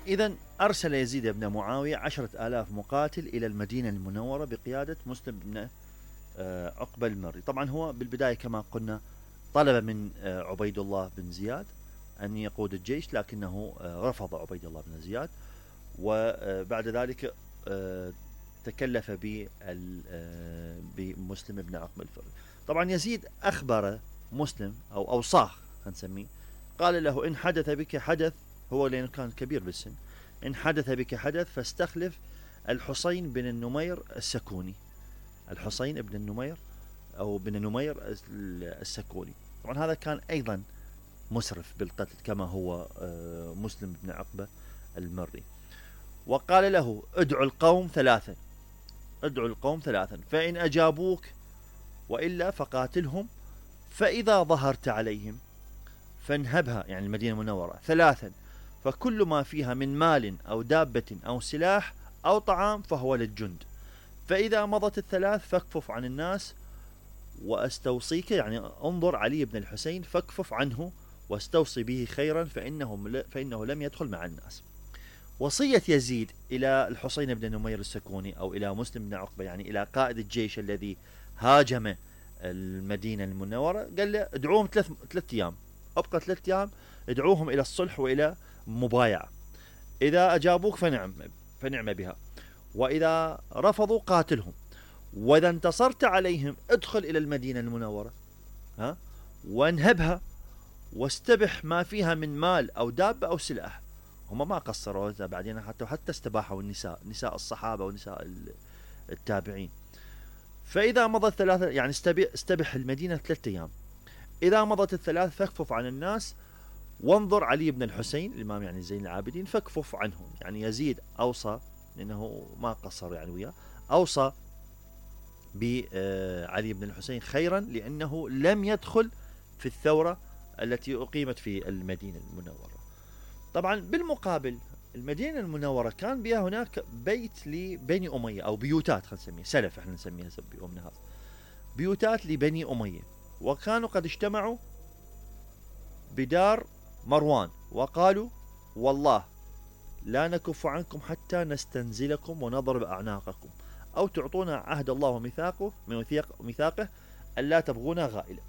إذا أرسل يزيد بن معاوية 10,000 مقاتل إلى المدينة المنورة بقيادة مسلم بن عقبة المري. طبعا هو بالبداية كما قلنا طلب من عبيد الله بن زياد أن يقود الجيش، لكنه رفض عبيد الله بن زياد، وبعد ذلك تكلف بمسلم بن عقبة الفري. طبعا يزيد أخبر مسلم أو أوصاه هنسميه، قال له إن حدث بك حدث، هو لأنه كان كبير بالسن، إن حدث بك حدث فاستخلف الحسين بن النمير السكوني، الحسين بن النمير أو بن النمير السكوني. طبعا هذا كان أيضا مسرف بالقتل كما هو مسلم بن عقبة المري. وقال له ادعو القوم ثلاثا، ادعو القوم ثلاثا، فإن أجابوك وإلا فقاتلهم، فإذا ظهرت عليهم فانهبها، يعني المدينة المنورة، ثلاثا، فكل ما فيها من مال أو دابة أو سلاح أو طعام فهو للجند، فإذا مضت الثلاث فاكفف عن الناس واستوصيك، يعني انظر علي بن الحسين فاكفف عنه واستوصي به خيرا فإنه لم يدخل مع الناس. وصية يزيد إلى الحسين بن نمير السكوني أو إلى مسلم بن عقبة، يعني إلى قائد الجيش الذي هاجم المدينة المنورة، قال له ادعوهم ثلاث أيام، أبقى 3 أيام ادعوهم إلى الصلح وإلى مبايعة، إذا أجابوك فنعم بها، وإذا رفضوا قاتلهم، وإذا انتصرت عليهم ادخل إلى المدينة المنورة وانهبها واستبح ما فيها من مال أو دابة أو سلاح. هم ما قصروا بعدين، حتى استباحوا النساء، نساء الصحابة ونساء التابعين. فإذا مضت 3، يعني استبح المدينة 3 أيام، إذا مضت الثلاث فاكفف عن الناس وانظر علي بن الحسين الإمام، يعني زين العابدين، فاكفف عنهم. يعني يزيد أوصى، لأنه ما قصر يعني وياه، أوصى بعلي بن الحسين خيرا، لأنه لم يدخل في الثورة التي أقيمت في المدينة المنورة. طبعا بالمقابل المدينة المنورة كان بها هناك بيت لبني أمية، أو بيوتات، خلينا نسميها سلف، احنا نسميها بيومنا هذا، بيوتات لبني أمية، وكانوا قد اجتمعوا بدار مروان وقالوا والله لا نكف عنكم حتى نستنزلكم ونضرب أعناقكم، أو تعطونا عهد الله وميثاقه ألا تبغونا غائلة.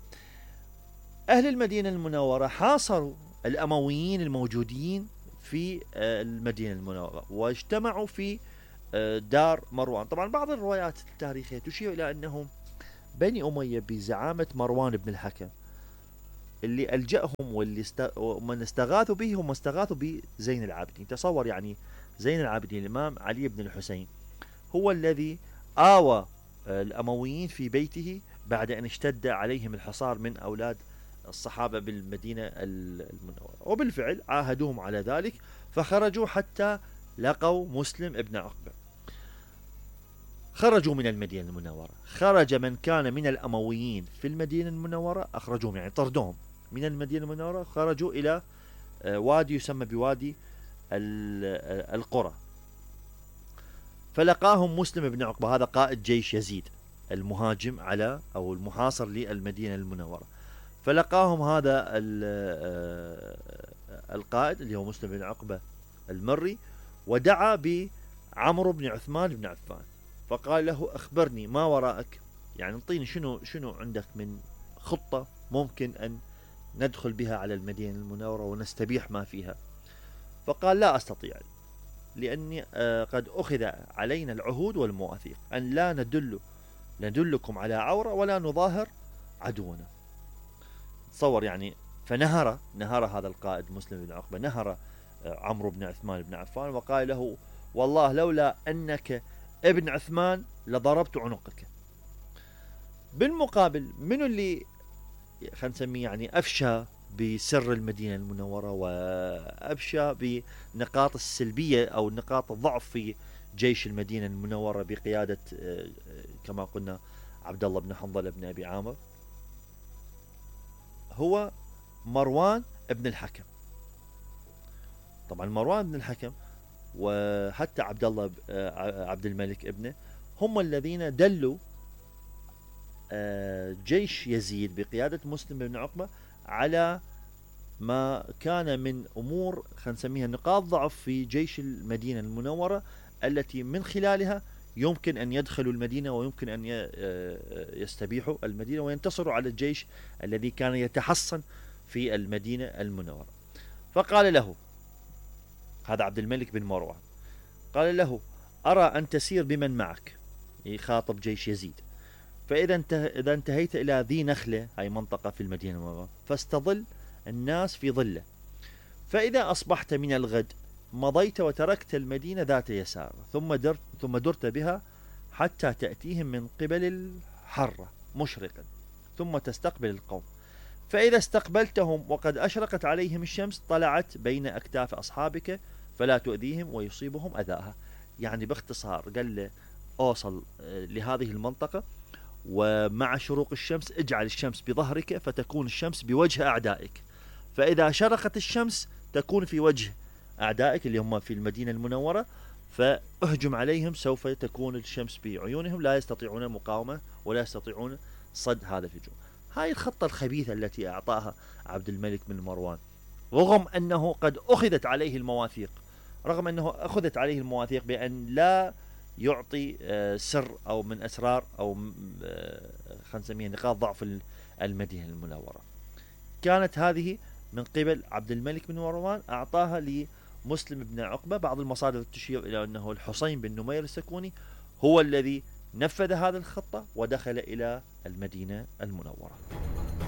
أهل المدينة المنورة حاصروا الأمويين الموجودين في المدينة المنورة واجتمعوا في دار مروان. طبعا بعض الروايات التاريخية تشير إلى أنهم بني أمية بزعامة مروان بن الحكم اللي ألجأهم ومن استغاثوا به هم استغاثوا بزين العابدين. تصور يعني زين العابدين الإمام علي بن الحسين هو الذي آوى الأمويين في بيته بعد أن اشتد عليهم الحصار من أولاد الصحابة بالمدينة المنورة، وبالفعل عاهدوهم على ذلك، فخرجوا حتى لقوا مسلم ابن عقبة. خرجوا من المدينة المنورة، خرج من كان من الأمويين في المدينة المنورة، أخرجوهم يعني طردوهم من المدينة المنورة، خرجوا إلى وادي يسمى بوادي القرى، فلقاهم مسلم بن عقبة، هذا قائد جيش يزيد المهاجم على أو المحاصر للمدينة المنورة، فلقاهم هذا القائد اللي هو مسلم بن عقبة المري، ودعا بعمرو بن عثمان بن عفان، فقال له أخبرني ما وراءك، يعني انطيني شنو عندك من خطة ممكن أن ندخل بها على المدينة المنورة ونستبيح ما فيها. فقال لا أستطيع، لأني قد أخذ علينا العهود والمواثيق أن لا ندلكم على عورة ولا نظاهر عدونا. تصور يعني، فنهر هذا القائد مسلم بن عقبة، نهر عمرو بن عثمان بن عفان وقال له والله لولا أنك ابن عثمان لضربت عنقك. بالمقابل منو اللي خلينا نسميه يعني أفشى بسر المدينة المنورة وأفشى بنقاط السلبية أو نقاط الضعف في جيش المدينة المنورة بقيادة كما قلنا عبد الله بن حنظلة بن أبي عامر، هو مروان بن الحكم. طبعا مروان بن الحكم وحتى عبد الملك ابنه هم الذين دلوا جيش يزيد بقيادة مسلم بن عقبة على ما كان من أمور خلينا نسميها نقاط ضعف في جيش المدينة المنورة، التي من خلالها يمكن أن يدخلوا المدينة ويمكن أن يستبيحوا المدينة وينتصروا على الجيش الذي كان يتحصن في المدينة المنورة. فقال له هذا عبد الملك بن مروان، قال له: أرى أن تسير بمن معك، يخاطب جيش يزيد، فإذا إذا انتهيت إلى ذي نخلة، هاي منطقة في المدينة المنورة، فاستظل الناس في ظله، فإذا أصبحت من الغد مضيت وتركت المدينة ذات يسار، ثم درت بها حتى تأتيهم من قبل الحرة مشرقا، ثم تستقبل القوم، فإذا استقبلتهم وقد أشرقت عليهم الشمس طلعت بين أكتاف أصحابك فلا تؤذيهم ويصيبهم أذاها. يعني باختصار قال له: أوصل لهذه المنطقة، ومع شروق الشمس اجعل الشمس بظهرك فتكون الشمس بوجه أعدائك، فإذا شرقت الشمس تكون في وجه أعدائك اللي هم في المدينة المنورة، فاهجم عليهم، سوف تكون الشمس بعيونهم، لا يستطيعون المقاومة ولا يستطيعون صد هذا الهجوم. هاي الخطة الخبيثة التي أعطاها عبد الملك بن مروان، رغم أنه قد أخذت عليه المواثيق، بأن لا يعطي سر أو من أسرار أو خلينا نسميها نقاط ضعف المدينة المنورة. كانت هذه من قبل عبد الملك بن مروان، أعطاها لمسلم بن عقبة. بعض المصادر تشير إلى أنه الحصين بن نمير السكوني هو الذي نفذ هذه الخطة ودخل إلى المدينة المنورة.